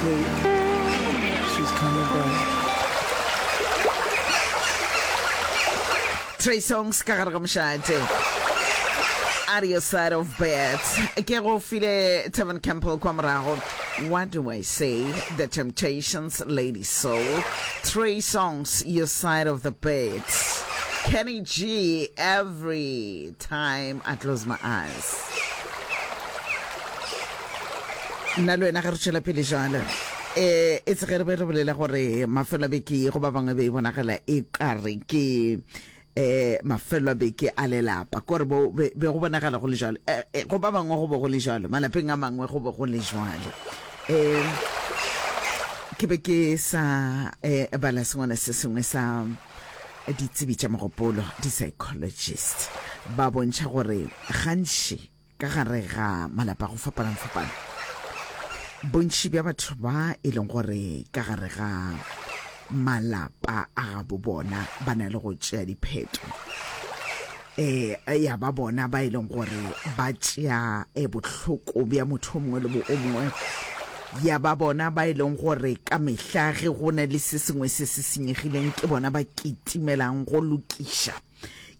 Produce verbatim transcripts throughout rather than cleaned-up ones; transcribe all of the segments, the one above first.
sleep. She's coming back. Trey Songs ka gare ga mošate Out of your side of bed ke go file Tevin Campbell kwa morago What do I say The Temptations Lady Soul Trey Songs Your Side of the Bed Kenny G Every Time I Close My Eyes nna le wena ge re tšwela pele jalo um e tse ge re be re bolela gore mafelo a beke go ba bangwe be e bonagala e kare ke um mafelo a beke a lelapa kore bo be be go bonagala go le jalo eh, eh, go ba bangwe go be go le jalo malapeng a mangwe go be go le jalo um ke be ke sa eh, bala sengwana se sengwe sa ditsebi tša mogopolo di-psychologist ba bontšha gore gantši ka gare ga malapa go fapana-fapana bontši bja batho ba e leng gore ka gare ga malapa a gabo bona ba na le go tšea dipheto eh ya ba bona ba e leng gore ba tšea eh, bohloko bja motho o mongwe le bo o mongwe ya ba bona ba e leng gore ka mehla ge go na le se sengwe se se senyegileng ke bona ba kitimelang go lokiša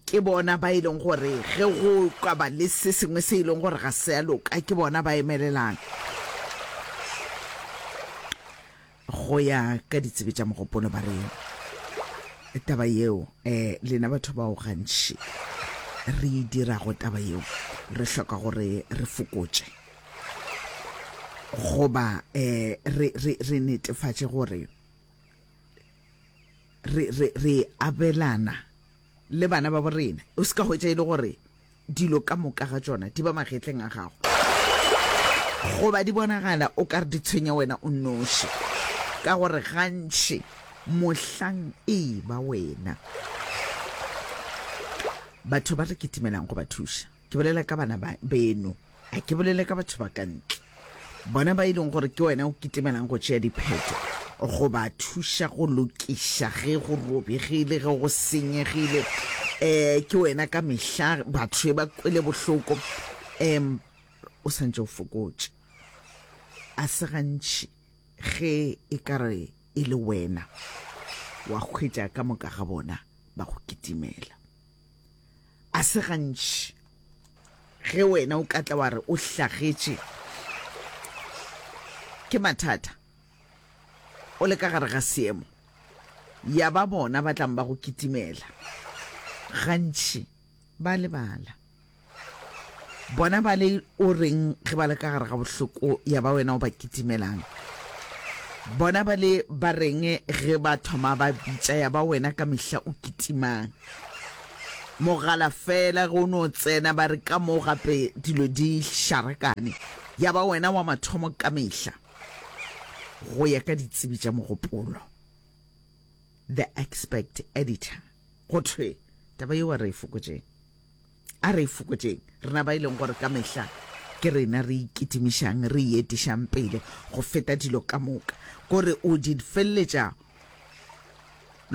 ke bona ba e leng gore ge go ka ba le se sengwe se e leng gore ga se a loka ke bona ba emelelang go ya ka ditsebe tša mogopolo ba re taba yeo um lena batho bao gantši re e dirago taba yeo re hloka gore re fokotše goba um re, re, re netefatše gore re, re, re abelana le bana ba borena o se ka hwetša e le gore dilo ka moka ga tšona di ba magetleng a gago goba di bonagala o ka re di tshwenya wena o nnoši ka gore gantši mohlang e ba wena batho ba re kitimelang go ba thuša ke bolela ka bana ba beno a ke bolele ka batho ba ka ntle bona ba e leng gore ke wena o kitimelang go tšea dipheto go ba thuša go lokiša ge go robegile ge go senyegile um ke wena ka mehla batho ba kwele bohloko um o santse o fokotše a se gantši ge e ka re e le wena wa hwetša ka moka ga bona ba go kitimela a se gantši ge wena o ka tla wa re o hlagetše ke mathata o le ka gare ga seemo ya ba bona ba tlang ba go kitimela gantši ba lebala bona ba le o reng ge ba le ka gare ga bohloko ya ba wena o ba kitimelang bona ba le ba reng ge ba thoma ba bitša ya ba wena ka mehla o kitimang mogala fela ge o no tsena ba re ka mo gape dilo di šarakane ya ba wena wa mathomo ka mehla go ya ka ditsebi tša mogopolo the expert editor go thwe taba yeo a re e fokotšeng a re e fokotšeng rena ba e leng gore ka mehla ke rena re ikitimišang re etišang pele go feta dilo ka moka kore o di feleletša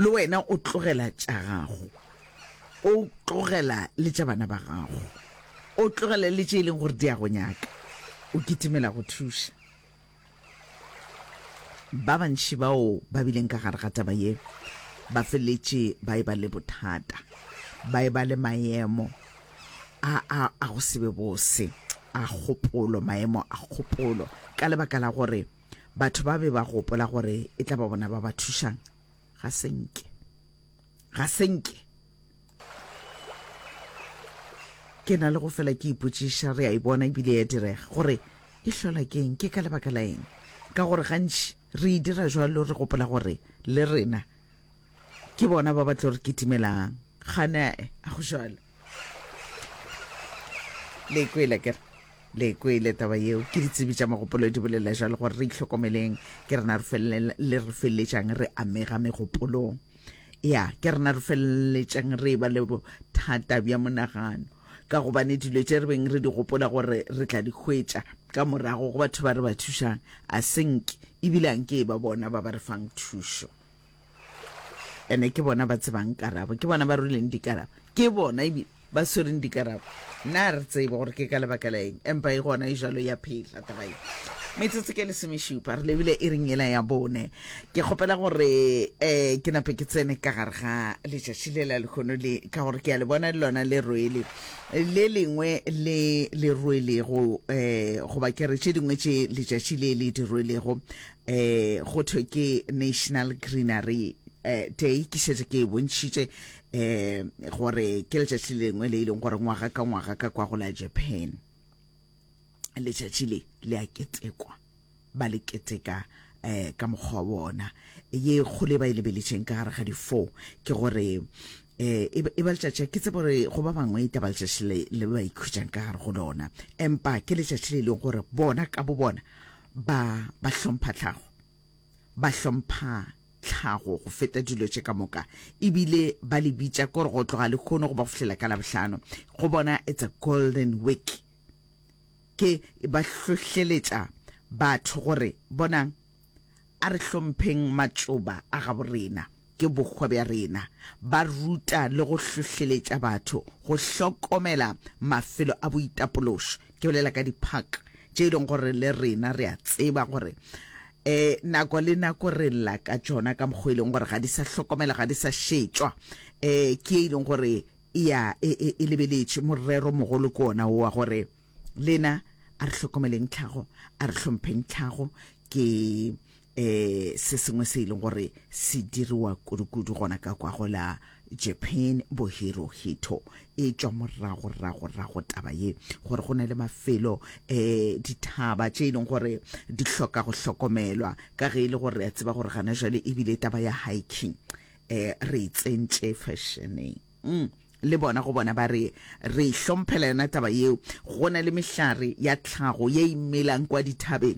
le wena o tlogela tša gago o tlogela le tša bana ba gago o tlogela le tše e leng gore di a go nyaka o kitimela go thuša ba bantši bao ba bileng ka gare ga taba ye ba feletše ba e ba le bothata ba e ba le maemo a a a go se be bose a kgopolo maemo a kgopolo ka lebaka la gore batho ba be ba gopola gore e tla ba bona ba ba thušang ga senke ga senke ke na le go fela ke ipotšiša re a e bona ebile ya direga gore e hlola ke eng ke ka lebaka la eng ka gore gantši re e dira jwalo re gopola gore le rena ke bona ba ba tlo re kitimelang gane a go jalo le kwele kere le kwele taba yeo ke ditsebi tša mogopolo di bolela jalo gore re itlhokomeleng ke rena re felele le re feleletšang re amega megopolong ya ke rena re feleletšang re ba le bothata bja monagano ka gobane dilo tše re beng re di gopola gore re tla di hwetša ka morago go batho ba re ba thušang a senke ebile anke e ba bona ba ba re fang thušo ene ke bona ba tsebang karabo ke bona ba rweleng dikarabo ke bona ebile Ba swereng dikarabo. Nna re tsebe gore ke ka lebaka la eng, empa e gona e jalo ya phela taba ye. Metsotso ke lesomešupa, re lebile e reng yela ya bone. Ke kgopela gore um ke nape ke tsene ka gare ga letšatši le la lehono le, ka gore ke a le bona le lona le rwele le lengwe le le rwelego, um goba ke re tše dingwe tše letšatši le le di rwelego, um go thwe ke National Greenery eh, Day. Ke šetše ke e bontšhitše um gore ke letšatši le lengwe le e leng gore ngwaga ka ngwaga ka kwa go la Japan letšatši le le a ketekwa, ba le keteka um ka mokgwa wa bona. Ye kgolo e ba e lebeletšeng ka gare ga di-four ke gore um e ba e ba letšatši, ke tsebe gore go ba bangwe e taba letšatši le le ba ikhutšang ka gare go lona, empa ke letšatši le e leng gore bona ka bo bona ba ba hlompha tlhago, ba hlompha tlhago go feta dilo tše ka moka, ebile ba le bitša kore go tloga lehono go ba go fihlela ka Labohlano go bona it's a golden week. Ke ba hlohleletša batho gore bonang, a re hlompheng matšoba a gabo rena, ke bohwa bja rena. Ba ruta le go hlohleletša batho go hlokomela mafelo a boitapološo. Ke bolela ka di-park tše e leng gore le rena re a tseba gore um nako le nako re lla ka tšona ka mokgwa e leng gore ga di sa hlokomela, ga di sa šetšwa. Um ke e leng gore e ya e, e, e lebeletše morero mogolo ke ona wa gore lena a re hlokomeleng tlhago, a re hlompheng tlhago. Ke eh se sengwe se e leng gore se diriwa kudu-kudu gona ka kwa go la Japan. Bo Hirohito e tšwa morago rago rago taba ye gore go na le mafelo, eh dithaba tše e leng gore di hloka go hlokomelwa, ka ge e le gore re a tseba gore gana jwale ebile taba ya hiking eh re e tsentše fashioneng. mm. Le bona go bona ba re re hlomphela yona taba yeo. Go na le mehlare ya tlhago ye e melang kwa dithabeng,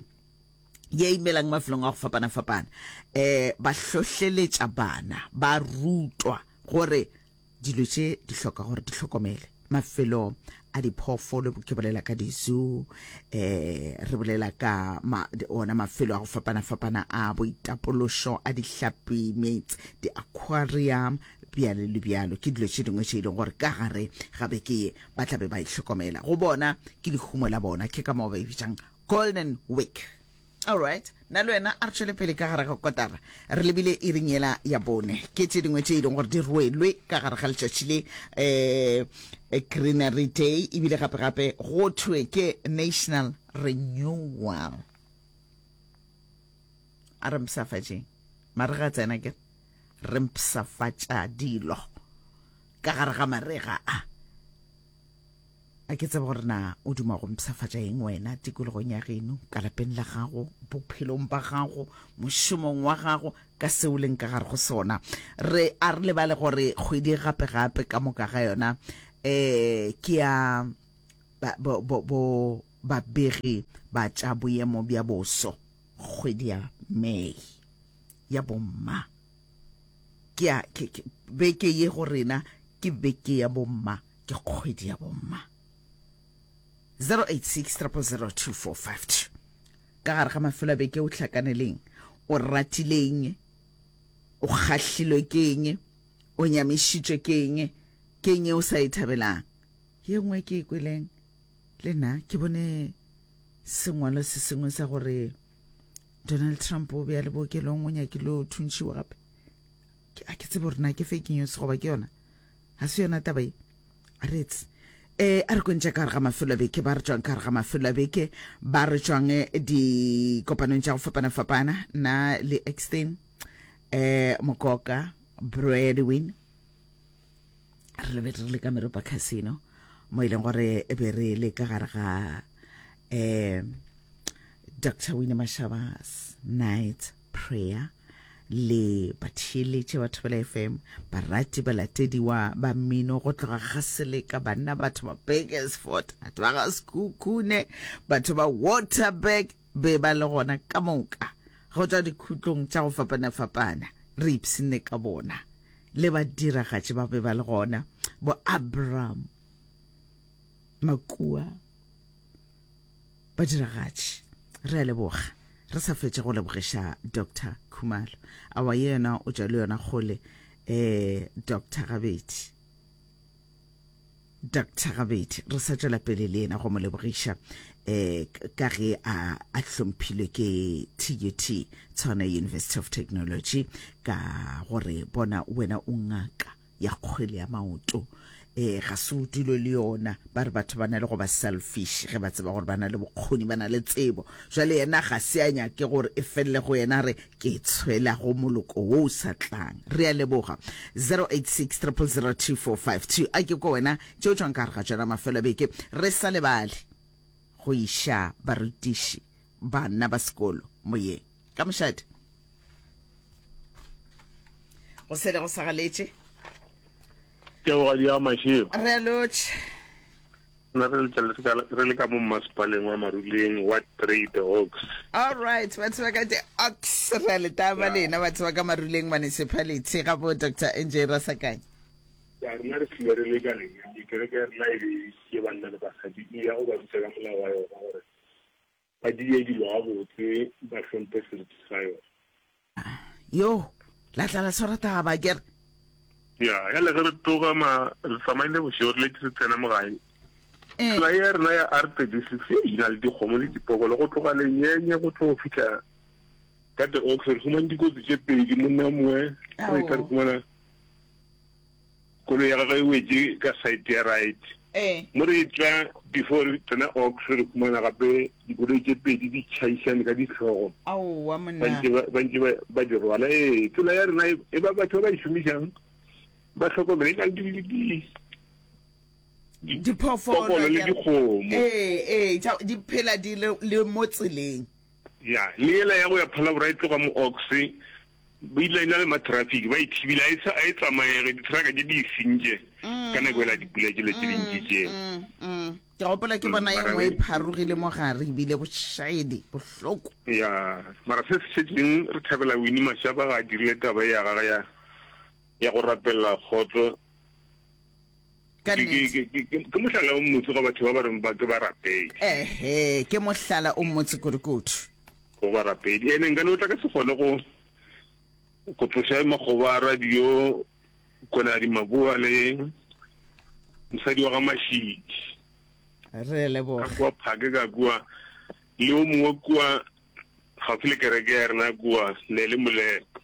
ye e melang mafelong a go fapana-fapana. um ba hlohleletša bana, ba rutwa gore dilo tše di hloka gore di hlokomele mafelo a diphoofolo. Ke bolela ka di-zoo, eh re bolela ka ma, ona mafelo a go fapana-fapana a boitapološo, a dihlapi meetse, di-aquarium, bjalo le bjalo. Ke dilo tše dingwe tše e leng gore ka gare ga beke ye ba tla be ba ihlokomela. Go bona ke lehumo la bona, ke ka moo ba e bitsang Golden Week. Alright, nna le wena a re tšwele pele ka gare ga kotara, re lebile e reng yela ya bone. Ke tše dingwe tše e leng gore di rwelwe ka gare ga letšatši le, um Greenery Day, ebile gape-gape go thwe ke National Renewal. A re mpshafatšeng marega a tsena, ke re mpshafatša dilo ka gare ga marega a. A ke tsebe gore na o duma go mpshafatša eng wena tikologong ya geno, ka lapeng la gago, bophelong ba gago, mošomong wa gago, ka seo leng ka gare go sona. Re a re lebale gore kgwedi gape-gape ka moka ga yona um ke ya bo, bo, bo babegi ba tša boemo bja boso. Kgwedi ya May ya bomma ke ya ke, ke, beke ye go rena ke beke ya bomma, ke kgwedi ya bomma. Zero eight six triple zero two four five two. Ka gare ga mafelo a beke o hlakaneleng, o ratileng, o kgahlilwe ke eng, o nyamišitšwe ke eng, ke eng e o sa e thabelang. Ye nngwe ke e kweleng le nna, ke bone sengwalo se sengwe sa gore Donald Trump o be a le bookelong, o nyakile o thuntšhiwa gape. A ke tsebe gore na ke fake news goba ke yona, ga se yona taba ye. A re etse eh a re kwentša ka gare ga mafelo a beke, ba re tšwang ka gare ga mafelo a beke, ba re tšwang dikopanong tša go fapana-fapana. Nna le Exten eh Mokoka Bradwin re lebe re le ka Meropa Casino, mo e leng gore e be re le ka gare ga eh Doctor Winnie Mashaba's night prayer le batheeletše ba Thobela F M, barati balatediwa ba mmino go tloga ga Seleka, banna batho ba Bakersford, batho ba ga Sekhukhune, batho ba Waterberg be ba le gona ka moka go tšwa dikhutlong tša go fapana-fapana. Re ipshinne ka bona, le badiragatši ba be ba le gona, bo Abraham Makua, badiragatši. Re a leboga, re sa fetše go lebogiša Doctor Khumalo. Awa ye yona o tšwa le yona kgole, eh Doctor Gabedi. Doctor Gabedi re sa tšwela pele le yena go mo lebogiša um ka ge a a hlomphilwe ke T U T, Tshwane University of Technology, ka gore bona wena o ngaka ya kgwele ya maoto. um ga se o dule le yona, ba re batho ba na le go ba selfish ge ba tseba gore ba na le bokgoni, ba na le tsebo. Jwale yena ga se a nyake gore e felele go yena, re ke tshwela go moloko wo o sa tlang. Re a leboga. zero eight six zero zero zero two four five two, a ke ko wena tšeo tšwang ka gare ga tšona mafelo a beke. Re sa lebale go iša barutiši, bana ba sekolo moyeng ka mošate go sele go sa galetše. Ke bogadi ya Mašego. Re a lotšha. Nna re letša re le ka mo mmasepaleng wa Maruleng, Ward three, The Oaks. All right, batho ba ka The Oaks, re a letaba lena batho ba ka Maruleng Municipality ga bo Doctor N J Rasakanya. Ya rena re tlile re le ka lenyane, kereke ya rena e be ke banna le basadi, e ya go ba ruta ka molao wa yona gore ba die dilo gabotse, ba hlomphe seriti sa yona. Yo la tla la tshwara taba kere. Ya ya le ge re tloga ma re tsamaile bošego, re letse re tsena mo gae. Eh. Tsela ya rena ya R thirty six e na le dikgomo le dipokolo go tloga Lenyenye go tlo go fitlha ka The Oaks. Re fumane dikotsi tše pedi, monna mongwe re tla re fumana koloi ya gagwe e wetse ka side ya right. Eh mo re tla before re tsena Oaks, re fumana gape dikoloi tše pedi di tšhaišane ka ditlhogo. Aowa. Ba Monna. ntse ba ba ntse ba- ba di rwala. Ee, tsela ya rena e e ba batho ba ba e šomišang ba tlhokomele, e na le di- di- di- diphoofolo pokolo le akere. Dikgomo. Ee, ee, tša- di phela di le le mo tseleng. Ya le ela ya go ya Phalaborwa e tloga mo Ox, ba ile na le ma-traffic ba e thibile, a e sa- a e tsamaege, di-trucka tše di e sentše ka nako ela dipula tšele tše dintši tše. Mm, mm. ke gopola ke bona e mara nngwe e re- pharogile mo gare, ebile bošaedi bohloko. Ya, mara se se šetšeng re thabela Winnie Mashaba ga a dirile taba ya gage ya ya go rapelela kgotso. Ka Ke- nnete. ke ke- ke- ke mohlala o motse ga batho ba ba reng ba ke barapedi. Ehe, ke mohlala o mmotse kudukudu. Go barapedi ene nka no tla ka se kgone go go tloša makgoba a radio Konadi Maboa le mosadi wa ga Mašidi re ka leboga. Kua phake ka kua le o mongwe kua gaufi le kereke ya rena kua ne le Molepo.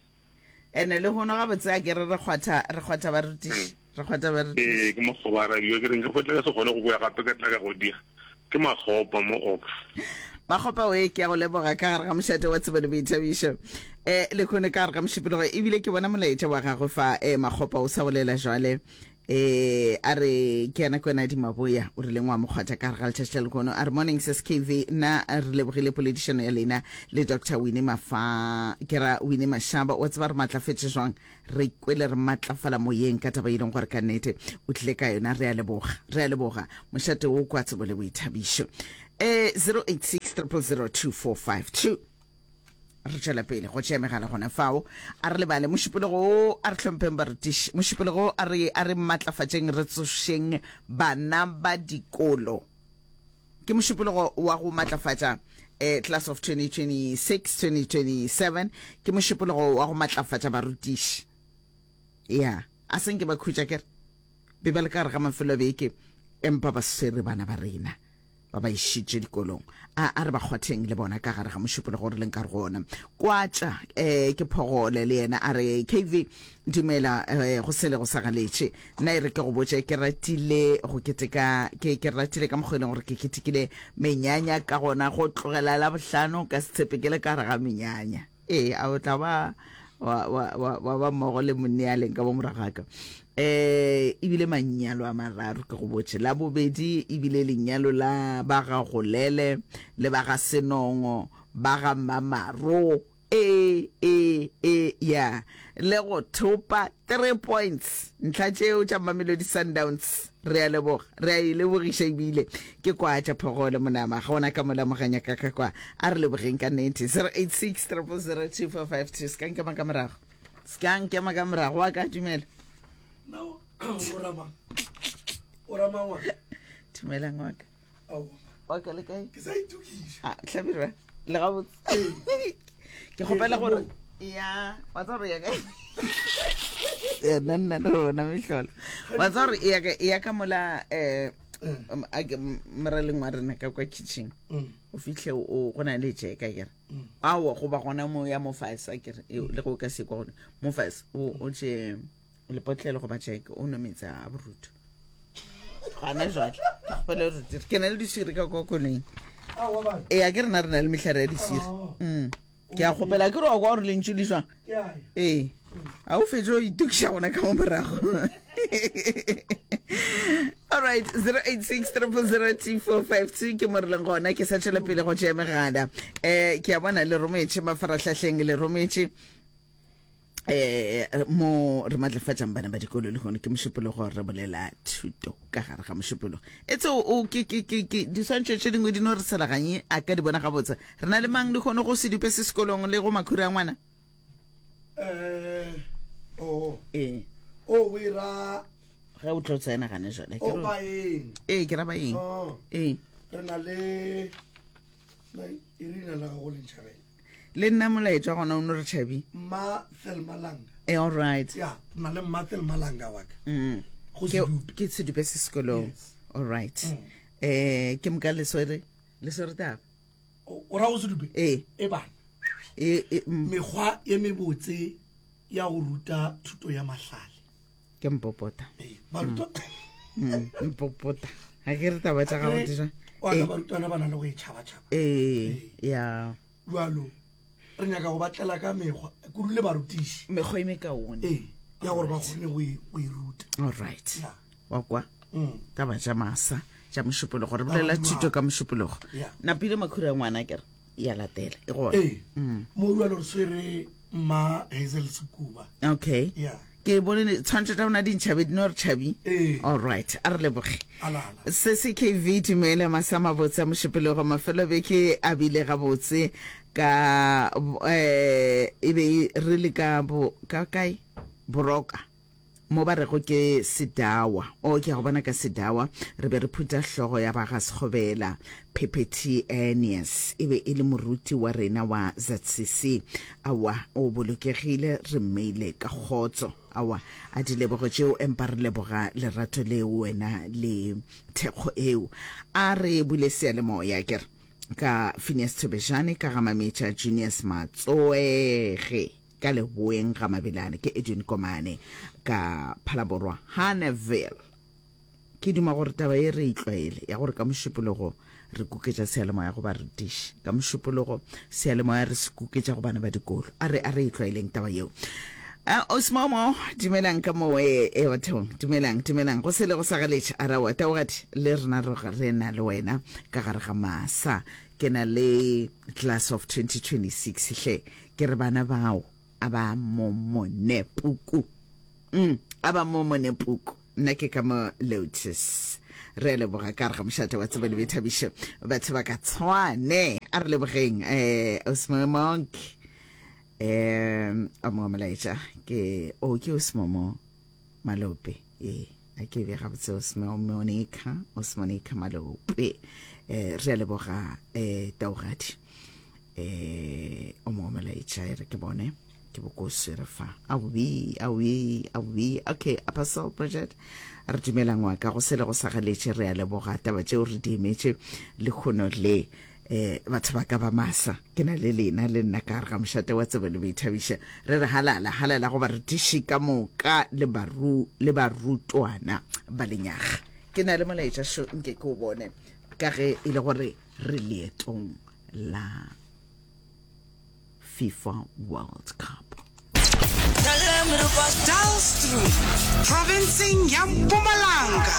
Ene le hono gabotse a kere re kgwatha re kgwatha barutiši, re kgwatha barutiši. Ee, ke makgoba a radio, ke reng ke tla ka se kgone go boya gape ka tla ka go dira ke makgopa mo Ox. Makgopa oe, ke ya go leboga ka gare ga mošate wa Tsebo le Boithabišo um le kgone ka gare ga mošupologo. Ebile ke bona molaetša wa gagwe fa, um Makgopa o sa bolela jwale, um a re ke yena Kwena Dimaboya, o rileng wa mokgwatha ka gare ga letšatši la lekono. A re morning sis K V, nna re lebogile poledišano ya lena le Doctor Winnie Mafa, ke ra Winnie Mashaba. Wa tseba re maatlafetše jwang, re kwele re maatlafala moyeng ka taba e leng gore ka nnete o tlile ka yona. Re a leboga, re a leboga. Mošate wo kwa Tsebo le Boithabišo, um zero eight six zero zero two four five two. Re tšwela pele go tšea megala gona fao. A re lebale mošupologo o, a re hlompheng barutiši. Mošupologo a re a re maatlafatšeng, re tsošeng bana ba dikolo. Ke mošupologo wa go maatlafatša eh, class of twenty twenty-six twenty twenty-seven, ke mošupologo wa go maatlafatša barutiši. Ya a senke ba khutša kere be ba le ka gare ga mafelo a beke, empa ba swere bana ba rena ba ba išitše dikolong. A a re ba kgwatheng le bona ka gare ga mošupologo re leng ka re go ona. Kwatša um ke Phogole le yena, a re K V dumela, um go sele go sa galetše. Nna e re ke go botše, ke ratile go keteka, ke ke ratile ka mokgwa e leng gore ke ketekile menyanya ka gona go tlogela la bohlano ka setshepe ke le ka gare ga menyanya. Ee, a o tla ba wa wa wa wa ba mmogo le monne a leng ka mo moragaka. eh ebile manyalo a mararo ke go botše, la bobedi ebile lenyalo la ba ga Golele le ba ga Senongo, ba ga Mamaro. E e e ya le go thopa three points, ntlha tšeo tša Mamelodi Sundowns. Re a leboga, re a e lebogiša. Ebile ke kwa tša Phogole monama ga ona ka molamoganya ka ka kwa. A re lebogeng ka nnete. zero eight six zero zero two four five two. Se ka nkema ka morago, se ka nkema ka morago wa ka. Dumela. No, o ramang? O ramang wa? Dumelang wa ka. Aowa. Wa ka le kae? Ke sa itokiša. A Hlabirwa, le gabotse? Ke kgopela gore ya wa tsa gore ya kae. Nna nna le rona mehlolo. Wa tseba gore e ya ka e ya ka mola eh um, a ke- m- moraleng wa rena ka kwa kitchen. O fihle o go na le jeka kere. Aowa goba gona mo ya mo fase a kere e, le go ka se kwa gone mo fase o o tše lepotlelo goba jeke o nwe meetse a borutho. Gana jwale ke kgopela gore dire. Ke na le diswiri ka kwa koloing. Aowa bana. Ee a ke rena re na le mehlare ya diswiri. Oh. Mm. Ke a kgopela ke re wa kwa gore lentšu le jwang. Ke a ya. Ee. A o fetše o itokiša gona ka mo morago. All right, zero eight six triple zero two four five two ke mo re leng gona ke sa tšwela pele go tšea megala. Eh ke a bona le rometše mafarahlahleng le rometše eh mo re matlafatšang bana ba dikolo le gone ke mošupologo re bolela thuto ka gare ga mošupologo. Etse o o- ke ke ke ke diswantšho tše dingwe di no re selaganye a ka di bona gabotse. Re na le mang le kgone go sedupe se sekolong le go makhura a ngwana? Eh, oh. Ee. O o e ra Ge o tlo tsena gane jwale ke o re- baeng. Ee ke ra baeng. Oh. Ee. Re na le na e re leina la gago le ntšhabela. Le nna molaetša gona o no re tšhabi. Mma Thelma Langa. Eh all right. Ya, re na le Mma Thelma Langa wa ka. Mm. Go Ke Sedupe. ke sedupe se sekolong. Yes. All right. Mm. Eh ke moka le swere le swere taba. O o ra go Sedupe? Ee. E bana. E e mm, Mekgwa ye mebotse ya go ruta thuto ya mahlale. ke mpopota. Ee, barutwa Mm, mpopota. Ha ke re taba tša gago di jwang? wa ka Ee. barutwana ba na le go e tšhaba-tšhaba. Ee, ya. Jwalo re nyaka go ba tlela ka mekgwa kudu le barutiši. Mekgwa e mekaone. Ee, ya gore ba kgone go e go e ruta. All right. Ya. Wa kwa? Mm. Taba tša masa tša mošupologo re bolela Taba thuto ka mošupologo. Ya. Napile makhura a ngwana ke re ya latela e gona. Ee. Mo jwalo re swere mma Hazel Sekuba. Okay. Ya. Ke bone tshwantšho tša bona di ntšhabe di no re tšhabi. Ee. All right, a re leboge. Alala. Se se K V dumela masa mabotse a mošupologo mafelo a beke a bile gabotse ka eh e be re le ka bo ka kae Boroka mo ba rego ke Sedawa o ke a go bona ka Sedawa re be re phutha hlogo ya ba ga Sekgobela Phephethi Aeneas e be e le moruti wa rena wa Z C C awa o bolokegile re mmeile ka kgotso awa a di lebogo tšeo empa re leboga lerato leo wena le thekgo eo a re bule seyalemoya ke re ka Phineas Thobejane ka ga Mametša Junius Matsoege ka leboeng ga Mabelane ke Edwin Komane ka Phalaborwa Haneville ke duma gore taba e re e tlwaele ya gore ka mošupologo re kuketša seyalemoya go barutiši ka mošupologo seyalemoya re se kuketša go bana ba dikolo a re a re e tlwaeleng taba yeo. Uh, Osmomo dumelang ka mo e e bathong dumelang dumelang go sele go sa galetše a rawa taogadi le rena re re na le wena ka gare ga masa ke na le class of twenty twenty-six hle ke re bana bao a ba momone puku mm, a ba momone puku nna ke ka mo Lotus re a leboga ka re ga mošate wa tsebo le boithabišo batho ba ka tshwane a re lebogeng eh Osmomonk eh a mo molaetša ke o ke Osmomo Malope ee a ke be gabotse Osmo Monica Osmonica Malope eh re a leboga eh taogadi eh o mo molaetša e re ke bone ke bokose re fa aowi aowi aowi okay Apostle Project re dumela ngwaka go sele go sa galetše re a leboga taba tšeo re di emetše lekgono le eh batho ba ka ba masa ke na le lena le nna ka gare ga mošate wa tsebo le boithabišo re re halala halala go barutiši ka moka le baru le barutwana ba lenyaga ke na le molaetša šo nke ke o bone ka ge e le gore re leetong la FIFA World Cup. Dullstroom, provinceng ya Mpumalanga.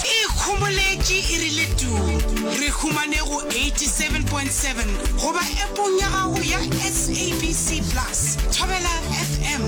E ikhomoletše e rile tuu. Re humane go eighty-seven point seven goba appong ya gago ya S A B C Plus. Thobela F M,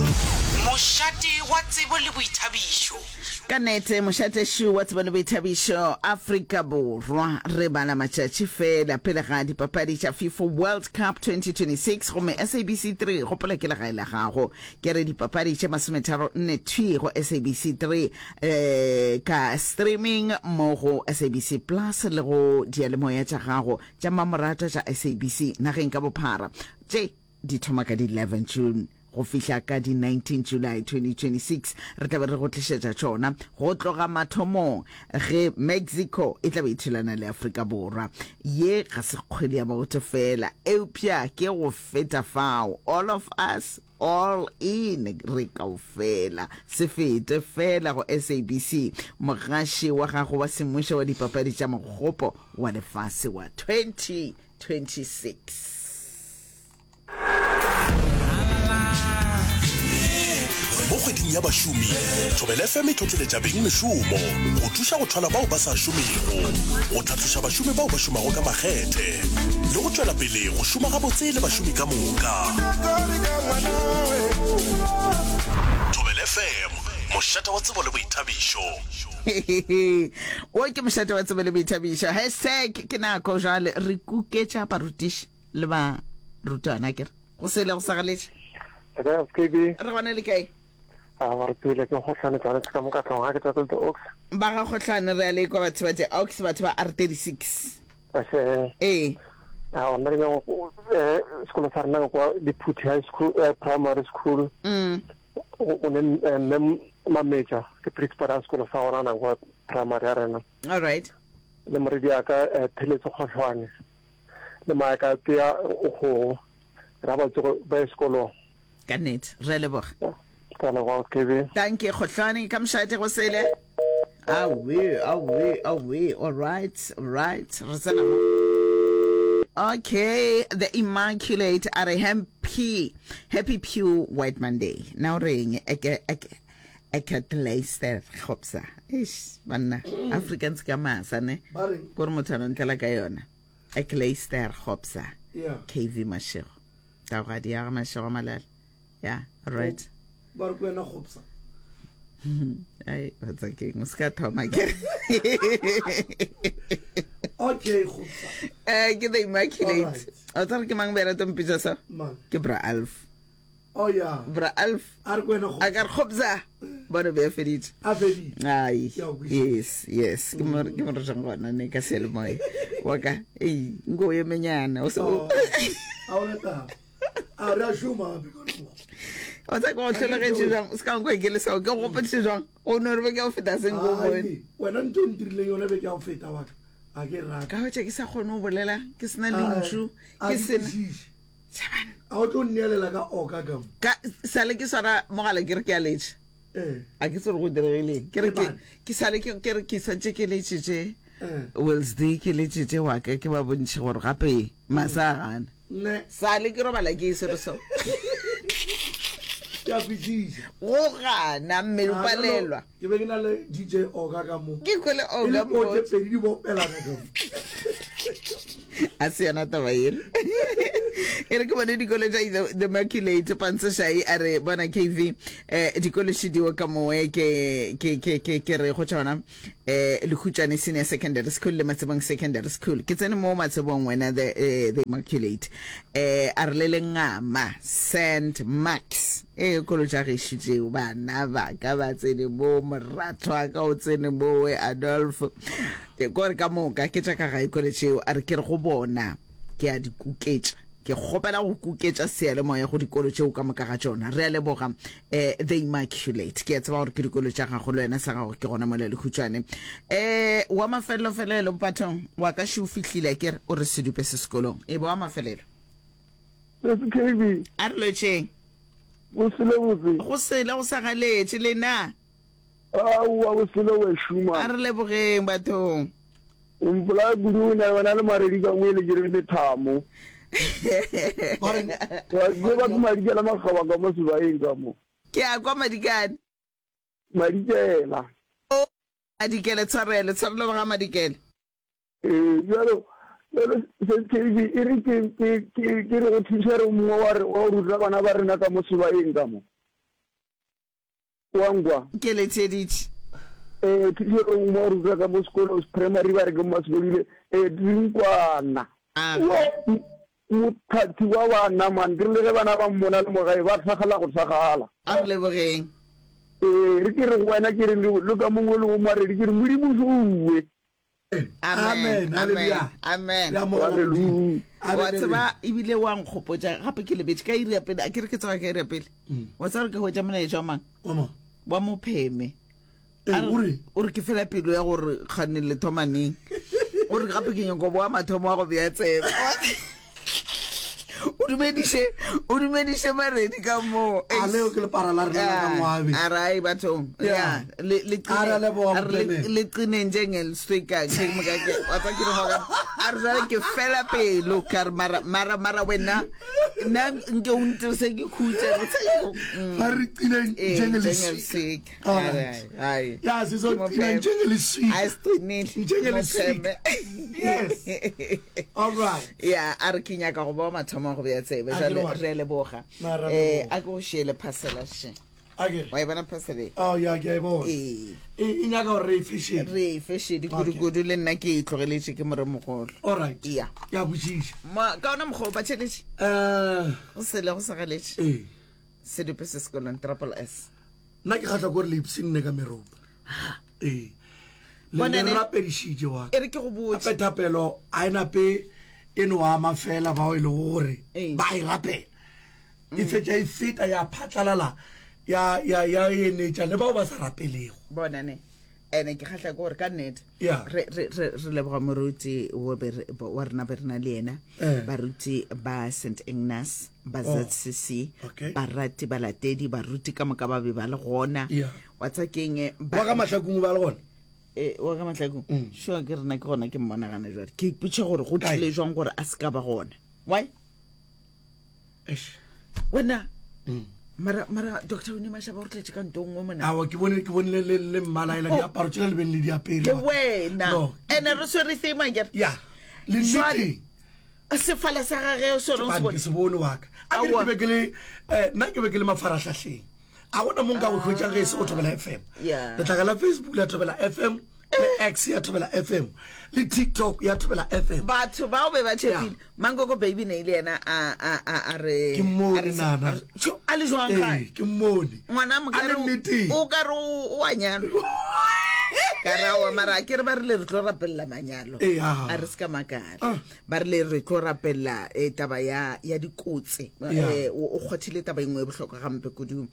mošate wa tsebo le boithabišo. Ka nnete mošate šu wa tsebo le boithabišo Afrika Borwa re bala matšatši fela pele ga dipapadi tša FIFA World Cup twenty twenty-six gomme S A B C three gopola ke legae la gago ke re dipapadi tše masometharo nne thwi go S A B C three eh ka streaming mo go S A B C Plus le go diyalemoya tša gago tša mamorato tša S A B C nageng ka bophara tše di thoma ka di eleven June go fihla ka di nineteen July twenty twenty six. Re tla be re go tlišetša tšona go tloga mathomong ge Mexico e tla be e thulana le Afrika Borwa. Ye ga se kgwele ya maoto fela, eupša ke go feta fao. All of us, all in, re kaofela. Se fete fela go S A B C, mogaši wa gago wa semmušo wa dipapadi tša mogopo wa lefase wa twenty twenty six. Mo kgweding ya bašomi, Thobela F M e tlotleletša beng mešomo go thuša go thwala bao ba sa šomego, go tlhatloša bašomi bao ba šomago ka makgethe le go tšwela pele go šoma gabotse le bašomi ka moka. Thobela F M, mošate wa tsebo le boithabišo. Wo ke mošate wa tsebo le boithabišo. Hashtag ke nako jwale re kuketša barutiši le barutwana ke re go sele go sa galetše. Re K B. Re gona le kae? A ba re pele ke Kgohlane tsane ka mo ka tlong ga ke tsa The Oaks. Ba ga Kgohlane re a le kwa batho ba The Oaks batho ba R thirty-six. Ase. Ee. A ona re go eh sekolo sa rena kwa Diphuthi High School, eh, Primary School. Mm. O ne mme Mametja ke principal ya sekolo sa gona na kwa primary ya rena. All right. Le moredi ya ka, eh, Pheletso Kgohlane. Le maaka tea o go ra ba tsogo ba ye sekolong. Ka nnete, re a leboga. Ka leboga, K B. Thank you, Kgohlane. Ka mošate go sele. Awe, awe, awe. All right, all right. Re tsena mo. Okay, the Immaculate a re happy, happy Pew White Monday. Now reng eke eke eke Leicester Khopsa. Eish, banna, Africans ka masa ne. Ba reng? Gore motho a no ntlela ka yona. Ek Leicester Khopsa. Yeah. K V Mashego. Taugadi ya Mashego Malala. Yeah, all right. Ba re kwena Khopsa. Ai, ba tsa keng, o ska thoma ke. Okay, Khopsa. Eh, ke the Immaculate. All right. O tsare ke mang bera tompitsa sa? Mang? Ke Bra Alf. Oh yeah. Bra Alf. A re kwena Khopsa. A ka re Khopsa. Bona be a feditše. A feditše. Ai. Ke a o kwešiša. Yes, yes. Ke mo, ke mo re jang gona ne ka seyalemoya. Wa ka, ei, nko o emenyana, o se o- Oh, a o rata. A re a šoma gape ka leboga. O tsa ke go hlologetše jwang? O se ka nkwa ke le sao, ke go gopotše jwang? O no re be ke ya go feta seng ko Ai, bone. wena ntho e ntirileng yona be ke ya go feta wa ka. A ke rate. Ka hwetša ke sa kgone go bolela, ke sena Ai, lentšu, a ke ke sena. kwešiše. Tšhabana. A o tlo nneelela ka oka ka mo? Ka, sale ke swara mogala ke re ke a letša. Eh. A ke tsebe gore go diregileng. Ke re ke, Lebane. ke sale ke, ke re ke santše ke letšitše. Eh. Wednesday ke letšitše wa ka, ke ba bontšhe gore gape masa a gana. Ne. Sale ke robala ke e sere so. Ke a kwešiša. Go gana, mmele o Ah, palelwa. no, ke be ke na le D J Oka ka mo. Ke kwele E le Oka poo tše mo. pedi di bopelana ka mo. A se yona taba ela. E re ke bone dikolo tša The, The Immaculate Pantseshai a re bona K V, eh, dikolo šidiwe ka mowe ke, ke, ke, ke, ke re go tšona, eh, Lekhutšane Senior Secondary School le Matsebong Secondary School. Ke tsene mo Matsebong wena The, eh, The Immaculate. Eh, a re le lengama Saint Marks. Eh, kolo tša gešo tšeo, bana ba ka ba tsene mo, moratho wa ka o tsene mo, we Adolf. Ke kore ka moka ke tša ka gae kolo tšeo, a re ke re go bona ke a di kuketša. Ke kgopela go kuketša seyalemoya go dikolo tšeo ka moka ga tšona. Re a leboga, eh, The Immaculate. Ke a tseba gore ke dikolo tša gago, le wena sa gago ke gona mola Lekhutšwane. Eh, wa mafelelo-felelo bathong, wa ka še o fihlile, ke re o re sedupe se sekolong. E ba wa mafelelo. S K B. A re lotšheng. Go sele botse. Go sele go sa galetše lena. Aowa, go sele we šuma. A re lebogeng bathong. O mpolaya kudu, o na le wena le Maredi ka mo e le ke re lethamo. Ba reng? Wa tseba ke Madikela Makgaba ka mo sebaeng ka mo. Ke a kwa Madikane. Madikela. O, Madikele, tshwarelo, tshwarelo ba ga Madikele. Ee, bjalo, bjalo, S K B, e re ke, ke, ke, ke re go thuša re mongwe wa re, wa go ruta bana ba rena ka mo sebaeng ka mo. Wa nkwa? Ke le theeditše. Eh, thuša re mongwe wa go ruta ka mo sekolong, primary ba re ke Mmasebodile, eh, Drinkwana. Ah. Yo, mothathi wa bana, man, ke rile ge bana ba mmona le mo gae, ba thakgala go thakgala. A re lebogeng. Eh, re ke re go wena, ke re le, le ka mongwe le o Maredi, ke re Modimo šowe. Amen. Amen. Amen. Re amogela Modimo. Hallelujah. Wa Amen. tseba ebile wa nkgopotša gape ke lebetše ka iri ya pele a ke re ke tsoga ka iri ya pele wa tseba gore ke hwetša molaetša wa mang Wa mang? wa mopheme Ee, A re- o re? o re ke fela pelo ya gore kgane le thoma neng o re gape ke nyako boa mathomo wa go bea tsebe o dumediše o dumediše maredi ka moo A leo ke lepara la rena la ka Moabe. a re ai bathong Yeah. ya le le A re a leboga, a re le- Mopheme. le qineng njengeliswika ke moka ke wa tseba ke re moka a re jwale ke fela pelo ka re mara mara mara wena nna nke o ntirse ke khutse Mm. Ba re qineng Eh, njengeliswika. njengeliswika All right. ai Ya, sizoqina njengeliswika. a siqinile Njengeliswika. Yes. All right. ya a re ke nyaka go ba wa mathomo a go bea tsebe A ke jale le wa- re a leboga Na, re a um leboga. a ke go šiele phasela še A ke re. wa e bona phasela e? Oh, ya, ke a e bona. ee E e nyaka gore re e fešene. re e fešedi kudu-kudu le nna ke e tlogeletše ke moremogolo All right. Ya. Ke a botšiša. Ma- ka ona mokgwa o batšheletše Eh, go sele go sagaletše ee. sedupe se sekolong triple s Nna ke kgahlwa ke gore le ipshinne ka meropa. Ee. Le Bona le ne- rapedišitše wa ka. e re ke go botse Gape thapelo a e nape e no ama fela bao e lego gore Ee. ba e rapela. E fetša e feta ya phatlalala ya ya ya enetša le bao ba sa rapelego. bona ne ene ke kgatlha ke gore ka nnete Ya. re re- re re leboga moruti wo be re- bo- wa rena be re na le yena Eh. baruti ba st agnes ba Oh. zcc Okay. barati balatedi baruti ka moka ba be ba le gona Ya. wa tsa keng eh, ba- Wa ka mahlakong ba le gona. Eh, wa ka mahlakong sure ke rena ke gona ke mmonagana jale ke ipotša gore go Kae? tlile jwang gore a se ka ba gona why Eish. wena mara mara doctor one mashaba o re tletse ka nto nngwe mona Aowa ke bone ke bone le le le mmala ela diaparo tšela le beng le di apere. ke wena No. ene re swere theme akere Ya. Le Jwale- nneteng. sefala sa gage o sone o se Bane, bone ke se bone wa ka. A ke re Aowa. ke be ke le eh, nna ke be ke le mafarahlahleng. A gona mo nka go hwetšang ge e se go Thobela F M. Yeah. Letlaka la Facebook la Thobela F M, le X ya Thobela F M, le TikTok ya Thobela F M. batho bao be ba tšhepile Yeah. mankoko baby ne ile yena a a a a re Ke mmone a re- nana. a re- Tjho, a le jwang gae Ee, ke mmone. ngwana A le mokare nneteng. o ka re o o a nyalwa ka re aowa mara a ke re ba rile re tlo rapelela manyalo Ee, ah. a re se ka makala Ah. ba rile re tlo rapelela eh, taba ya ya dikotsi Yeah. Eh, o o kgwathile taba e nngwe e bohlokwa gampe kudu um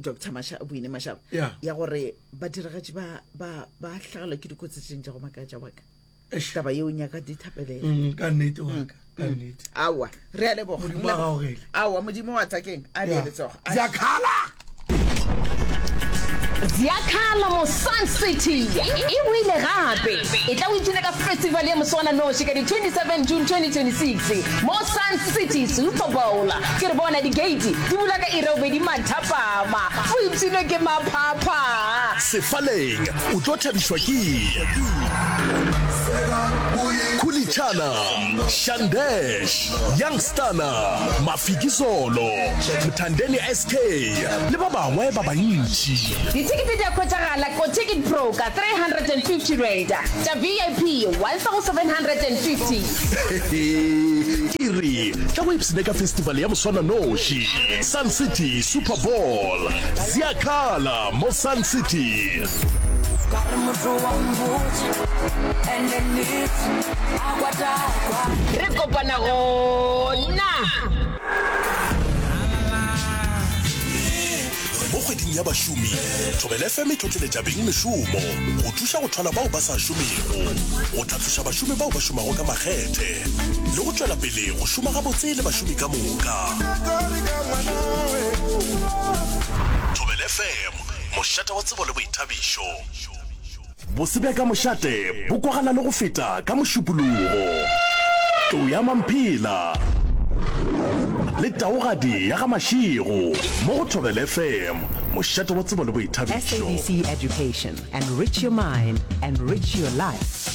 dr Masha- boine mashaba Yeah. ya gore badiragatši ba ba ba hlagelwa ke dikotsi tše tša go makatša waka Eish. taba yeo nyaka dithapelela Mm, ka nnete wa ka, ka nnete. aowa re a leboga Modimo a gaogele. aowa modimo wa tsakeng a Ya. le letsogo Ziyakhala. Ziyakhala mo Sun City e boile gape e tla o ipshina ka festival ya moswananoši ka di twenty-seven June twenty twenty-six mo Sun City Super Bowl. Ke re bona di-gate di bula ka iri ya bobedi mathapama o ipshinwe ke maphapha. Sefaleng o tlo thabišwa ke Khulichana, Shandesh, Youngstana, Mafikizolo, Mthandeni S K le ba bangwe ba bantši. Dithekete di a hwetšagala ko Ticket Pro ka three hundred and fifty rand, tša V I P one thousand seven hundred and fifty. Ke re tla go ipshine ka festival ya moswananoši Sun City Super Bowl. Ziyakhala mo Sun City. Re kopana gona. Mo kgweding ya bašomi, Thobela F M e tlotleletša beng mešomo go thuša go thwala bao ba sa šomego, go tlhatloša bašomi bao ba šomago ka makgethe, le go tšwela pele go šoma gabotse le bašomi ka moka. Thobela F M, mošate wa tsebo le boithabišo. Bose bja ka mošate bo kwagala le go feta ka mošupologo. Tlou ya Mamphela le taogadi ya ga Mashego mo go Thobela F M, mošate wa tsebo le boithabišo. S A B C Education, enrich your mind, enrich your life.